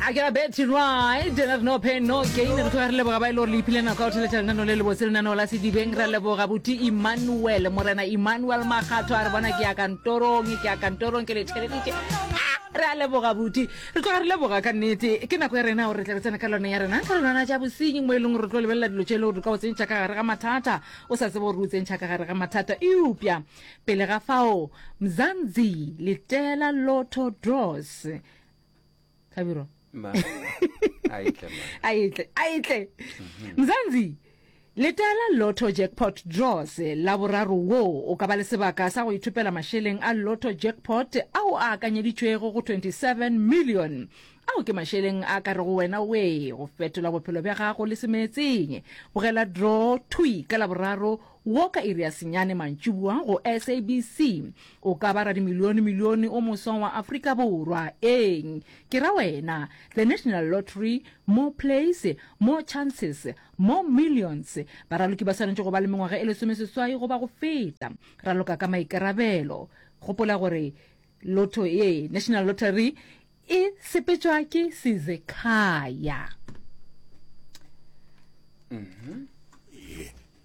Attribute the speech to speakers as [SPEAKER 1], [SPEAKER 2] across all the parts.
[SPEAKER 1] A ke ra Betty Right, re no pain no gain. Re tloga re leboga ba e le gore le iphile nako ya go theletša lenaneo le lebotse, lenaneo la Sedibeng. Re leboga buti Emmanuel, Morena Emmanuel Makgatho a re bona ke ya kantorong, ke ya kantorong ke le theleditše. Ah, re a leboga buti. Re tloga re leboga ka nnete. Ke nako ya rena gore re tle re tsene ka lone ya rena karolwana tša bosenyi mo e leng gore re tlo lebelela dilo tše e le gore di ka go tsentšha ka gare ga mathata o sa tsebe gore o tsentšha ka gare ga mathata. Eupša pele ga fao, Mzansi letela Lotto Draws. Hlabirwa.
[SPEAKER 2] Ma. A etle ma.
[SPEAKER 1] A etle, a etle. Mzansi, letela Lotto Jackpot Draws Laboraro wo o ka ba le sebaka sa go ithopela mašeleng a Lotto Jackpot ao a akanyeditšwego go 27 million. Ao ke mašeleng a ka rego wena wee go fetola bophelo bja gago le semeetseng. Bogela draw thwi ka Laboraro wo ka iri ya senyane mantšiboa go SABC. O ka ba radimilione-milione o moswa wa Afrika Borwa. Eng? Ke ra wena. The National Lottery, More plays, more chances, more millions. Baraloki ba swanetše go ba le mengwaga e lesomeseswai goba go feta. Raloka ka maikarabelo. Gopola gore lotto ye, National Lottery, e sepetšwa ke Sizekhaya.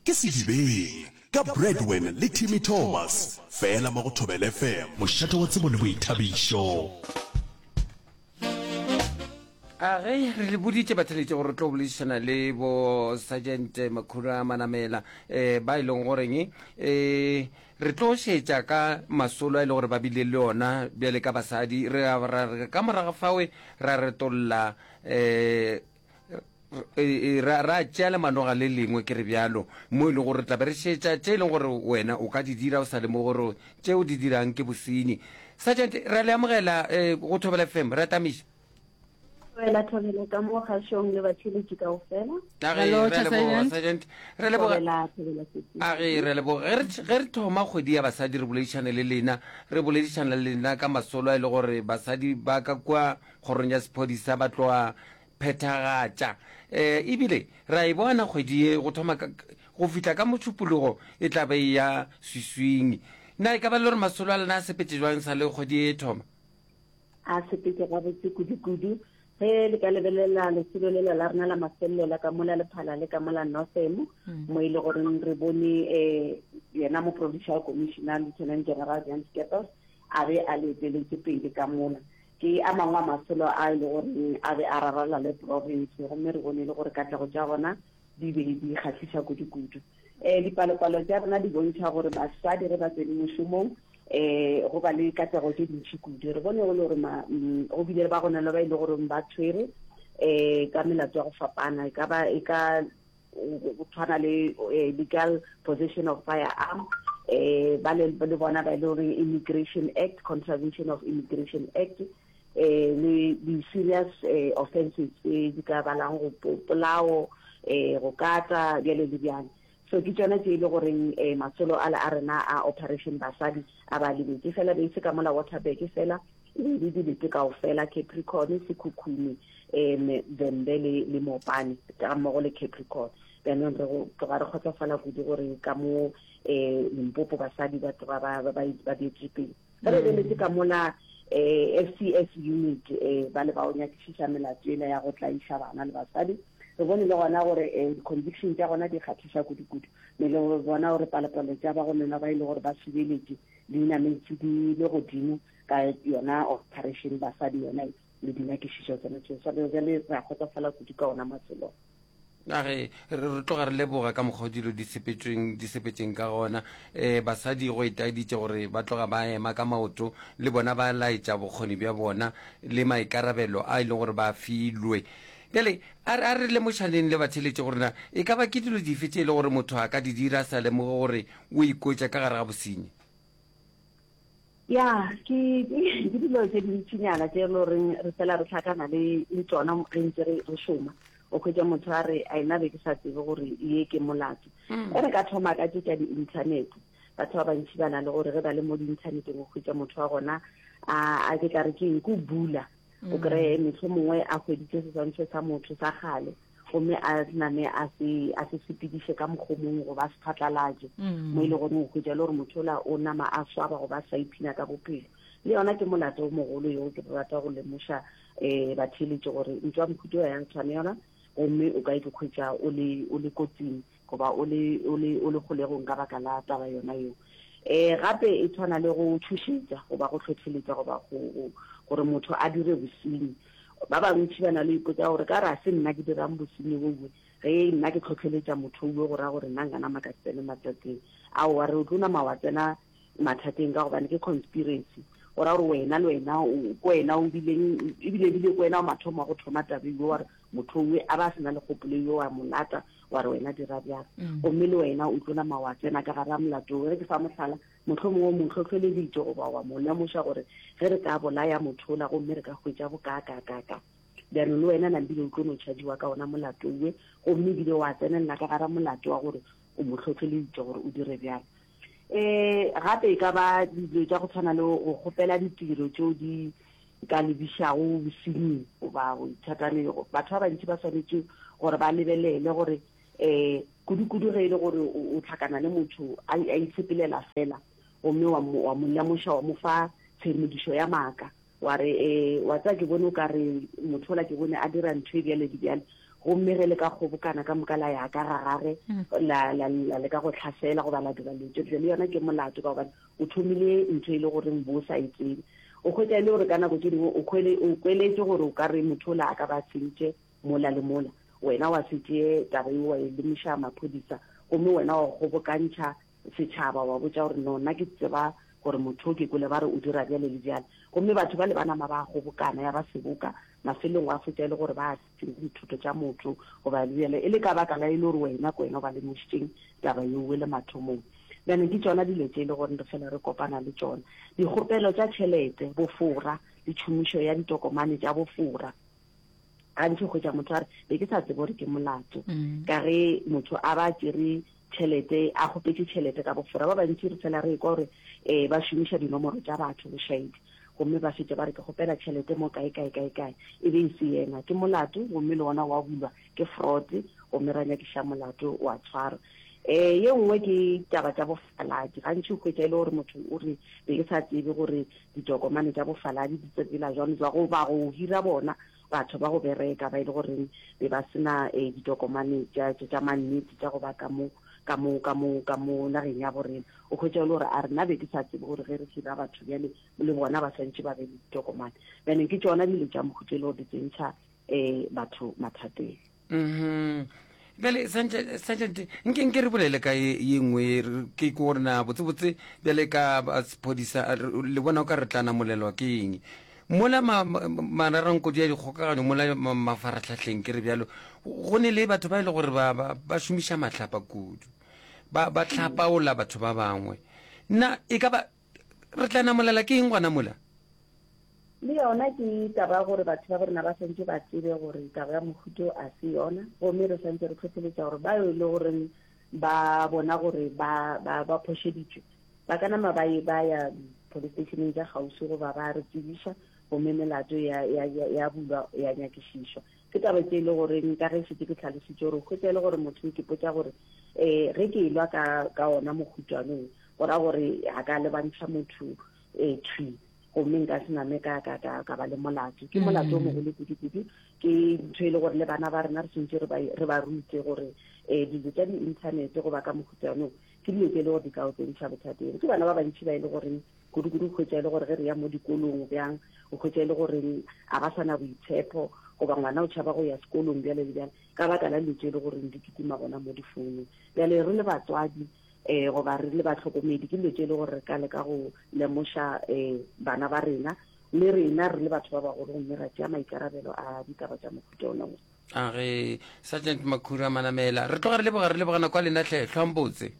[SPEAKER 3] Ke Sedibeng ka Bradwin le Timmy Thomas, fela mo go Thobela FM. Mošate wa tsebo le boithabišo.
[SPEAKER 2] A ge re le boditše batheletše gore re tlo boledišana le bo Sergeant Makhura Manamela um ba e leng goreng um re tlo šetša ka masolo a e le gore ba bile le ona bjale ka basadi re ra re ka morago fawe ra retolla um ra, ra tšea lemanoga le lengwe, ke re bjalo, mo e lego gore re tla be re šetša tše e leng gore wena o ka di dira o sa lemoge gore tše o di dirang ke bosenyi. Sergeant, re a le amogela eh, go Thobela FM, re a tamiša.
[SPEAKER 4] Thobela, thobela ka mo kgašong le batheeletši kaofela.
[SPEAKER 2] A ge,
[SPEAKER 1] Hello,
[SPEAKER 2] re a leboga,
[SPEAKER 1] Sergeant.
[SPEAKER 2] Sergeant. Re leboga.
[SPEAKER 4] Thobela, thobela sesi.
[SPEAKER 2] A ge, re a leboga. Ge re, ge re thoma kgwedi ya basadi re boledišane le lena, re boledišana le lena ka masolo a e le gore basadi ba ka kua kgorong ya sephodisa ba tloa phethagatša. E, ebile re a e bona kgwedi ye go thoma ka, go fihla ka Mošupologo e tla be e ya swiswing. Na e ka ba le gore masolo a lena a sepetše bjang sa le kgwedi ye e thoma?
[SPEAKER 4] A sepetše gabotse kudu-kudu. Ge le ka lebelela lesolo lela la rena la mafelelo la ka mola Lephala le ka mola Northam, mo e le goreng re bone um yena mo-provincial commissioner Lieutenant General Jan Scheepers a be a le eteletše pele ka mola. Ke a mangwe a masolo a e le goreng a be a raralla le province, gomme re bone e le gore katlego tša gona di be di kgahliša kudu-kudu. Um dipalopalo tša rena di bontšha gore basadi ge ba tsene mošomong um go ba le katlego tše dintši kudu. Re bone go le gore mm, go bile le ba gona le ba e le goreng ba tshwere um ka melato ya go fapana, e ka ba e ka go tshwana le eh, legal possession of firearm eh ba le le bona ba e le gore immigration act contravention of immigration act eh le di serious eh, offenses tse di ka balang go polao eh go kata bjale le bjale so ke tsona tse e le goreng eh, masolo a le a rena a operation basadi a ba lebetse fela be se ka mola waterberg fela e be le dilete kaofela Capricorn, Sekhukhune, um Vhembe le, le Mopane ga mmogo le Capricorn. Bjanong re go tloga re kgotsofala kudu gore ka mo um Limpopo basadi ba tloga ba, ba, ba, ba beetše pele. Ge re lebeletse ka mola um FCS unit um ba le ba o nyakišiša melato ela ya go tlaiša bana le basadi, re bone le gona gore um di-conviction tša gona di kgahliša kudu-kudu. Me le go bona gore palopalo tša ba go nona ba e le gore ba subeletše di nametše di le godimo ka yona operation basadi yona le dinyakišišo tsona tšeo. So bjale re a kgotsofala kudu ka ona matsolo.
[SPEAKER 2] A re re tloga re leboga ka mokgwa o dilo di sepetšweng di sepetšeng ka gona. Um basadi go itaeditše gore ba tloga ba ema ka maoto le bona ba laetša bokgoni bja bona le maikarabelo a e leng gore ba a filwe. Bjale a re a re lemošaneng le batheeletši gore na e ka ba ke dilo dife tše e le gore motho a ka di dira a sa lemoge gore o ikwetša ka gare ga bosenyi.
[SPEAKER 4] Ya, ke ke dilo tše dintšinyana tše e le goreng re fela re hlakana le le tšona ge ntse re re šoma. O hwetša motho a re a ena be ke sa tsebe gore ye ke molato. E re ka thoma ka tše tša di-internet. Batho ba bantši ba na le gore ge ba le mo di-inthaneteng o hwetša motho wa gona a a ke tla re ke eng ke o bula. O kreye mohlomongwe a hweditše seswantšho sa motho sa kgale. gomme a name a se a se sepediše ka mokgwa mongwe goba a se phatlalatše mm. mo e le gore o hwetša le gore motho ola o nama a swaba goba a sa iphina ka bophelo le yona ke molato o mogolo yo ke rata go lemoša um batheeletše gore ntho ya mohuta o ya tshwanela gomme o ka ikhwetša o le o le kotsing goba o le o le o le kgolegong ka baka la taba yona yeo. Um gape e tshwana le go tšhošetša goba go hlohleletša goba go gore motho a dire bosenyi. Ba bantši ba na le ipotsa gore ka re a se nna ke dirang bosenyi bowe, ge nna ke hlohleletša motho owe go ra gore nna nka nama ka se tsene mathateng. Aowa, re o tlo nama wa tsena mathateng ka gobane ke conspiracy. Go ra gore wena le wena ke wena o bileng ebile ebile ke wena o mathomo wa go thoma taba ewe wa re motho owe a ba a se na le kgopolo ewe wa mo lata wa re wena dira bjang mm. gomme le wena o tlo nama wa tsena ka gare ga molato ge ke fa mohlala mohlomongwe o mo hlohleleditše goba wa mo lemoša gore ge re ka bolaya motho ola gomme re ka hwetša bokaakakaka bjalo le wena nambile o tlo no tšhadiwa ka ona molato owe gomme ebile wa tsenelela ka gara molato wa gore o mo hlohleleditše gore o dire bjalo um gape e ka ba dilo tša go tshwana le go kgopela ditiro tšeo di ka lebišago bosenying goba go ithataneng. Batho ba bantši ba swanetše gore ba lebelele gore um kudu-kudu ge e le gore o hlakana le motho a itshepelela fela gomme wa mo lemoša wa mo fa tshedimošo ya maaka wa re um wa tseba ke bone o ka re motho ola ke bone a dira ntho e bjale le bjale gomme ge le ka kgobokana ka moka la ya ka ga gage mm. la la la leka go tlhasela goba la dira dilo tše le yona ke molato ka gobane o thomile ntho e le goreng bo sa e tsebe. O hwetša e le gore ka nako tše dingwe o kwele, o kweletše gore o ka re motho ola a ka ba sentše mola le mola. Wena wa se tšee taba eo wa e lemoša maphodisa gomme wena wa kgobokantšha setšhaba wa botša gore no nna ke tseba gore motho o ke kwele ba re o dira bjale le bjale. Gomme batho ba le ba nama ba kgobokana ya ba seboka, mafelong wa fetša e le gore ba senya dithoto tša motho goba bjale e le ka baka la e le gore wena ke wena o ba lemošitšeng taba yeo le mathomong. Bjale ke tšona dilo tše e le gore re fela re kopana le tšona. Dikgopelo tša tšhelete, bofora le tšhomišo ya ditokomane tša bofora. Gantši o hwetša motho a re, be ke sa tsebe gore ke molato. Mm. Ka ge motho a ba tšere tšhelete, a kgopetše tšhelete ka bofora. Ba bantši re fela re ekwa gore um ba šomiša dinomoro tša batho bošaedi gomme ba fetše ba re ke kgopela tšhelete mo kae kae kae kae e be e se yena. Ke molato gomme le ona wa bulwa ke fraud gomme ra nyakiša molato wa tshwarwa. Um ye nngwe ke taba tša bofaladi. Gantši o hwetša e le gore motho o re be ke sa tsebe gore ditokomane tša bofaladi di tsepela jwang jwa goba go hira bona batho ba go bereka ba e le goreng be ba se na um ditokomane tša mannete tša go ba ka mo ka mo ka mo ka mo nageng ya borena. O hwetša e le gore a re nna be ke sa tsebe gore ge re hira batho bjale le bona ba swantše ba be le ditokomane. Bjaneng ke tšona dilo tša mohuta e le gore di tsentšha um batho mathateng.
[SPEAKER 2] Mhm. Bjale sergeant nke nke re bolele ka ye ye nngwe ke ke gore na botsebotse bjale ka ba sephodisa le bona o ka re tla namolelwa ke eng mola mararankodi ya dikgokaganyo mola mafaratlhahleng ke re bjalo go ne le batho ba e le gore ba ba ba šomiša mahlapa kudu ba ba hlapaola batho ba bangwe na e ka ba Re tla namolela ke eng gona mola?
[SPEAKER 4] Le yona ke taba ya gore batho ba borena ba swantše ba tsebe gore taba ya mohuto a se yona, gomme re swantše re hlohleletša gore ba e le goreng ba bona gore ba, ba, ba phošeditšwe, ba ka nama ba, ba ya police stationeng tša kgauswi goba ba re tsebiša, gomme melato ya, ya, ya, ya bulwa ya nyakišišwa. Ke taba tše e le goreng ka ge šetše ke hlalositše gore o hwetša e le gore motho o kipotša gore um ge ke elwa ka, ka ona mohutwane o, Go ra gore a ka lebantšha motho um thwi gomme nka se name ka, ka, ka, ka ba le molato. Ke molato o mm. mogolo kudu-kudu. Ke ntho e le gore le bana ba rena re swantse re ba, re ba rute gore um dilo tša di-inthanete goba ka mohuta ono ke dilo tse e le gore di ka o tsentšha bothateng. Ke bana ba bantši ba e le goreng kudu-kudu hwetša e le gore ge re ya mo dikolong bjang o hwetša e le goreng a ba sa na boitshepo goba ngwana o tšhaba go ya sekolong bjale le bjale ka baka la dilo tse e le goreng di kitima gona mo difounung. Bjale re le batswadi um goba re le bahlokomedi ke dilo tše e le gore re ka leka go lemoša um bana ba rena le rena re le batho ba bagolo gomme ra tšea maikarabelo a ditaba tša mohuta ona wo.
[SPEAKER 2] A ge Sergeant Makhura Manamela, re tloga re leboga re leboga nako ya lena hle, hlwang botse.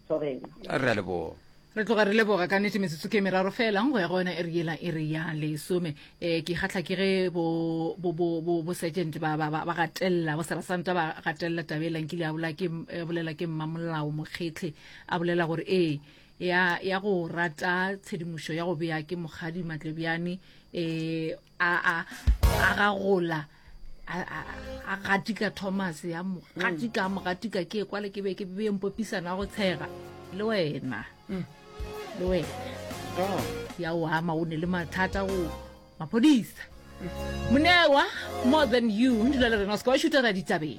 [SPEAKER 4] Thobela.
[SPEAKER 2] Re a leboga.
[SPEAKER 1] Re tloga re leboga ka nnete metsotso ke meraro fela go ya go yona iri yela iri ya lesome. E ke kgahla ke ge bo bo bo bo bo sergeant ba ba ba gatelela bo serasanta ba gatelela taba e lankile a bola ke bolela ke mmamolao Mokgetle a bolela gore ee ya ya go rata tshedimošo ya go bea ke Mokgadi Matlebjane e a a a gagola a a a gatika Thomas ya mo gatika mo gatika ke kwale ke be ke be mpopisana go tshega le wena mm. le wena oh. ya o ama o ne le mathata go maphodisa. Monewa, more than you, dula le rena o se ke wa šutela ditabeng.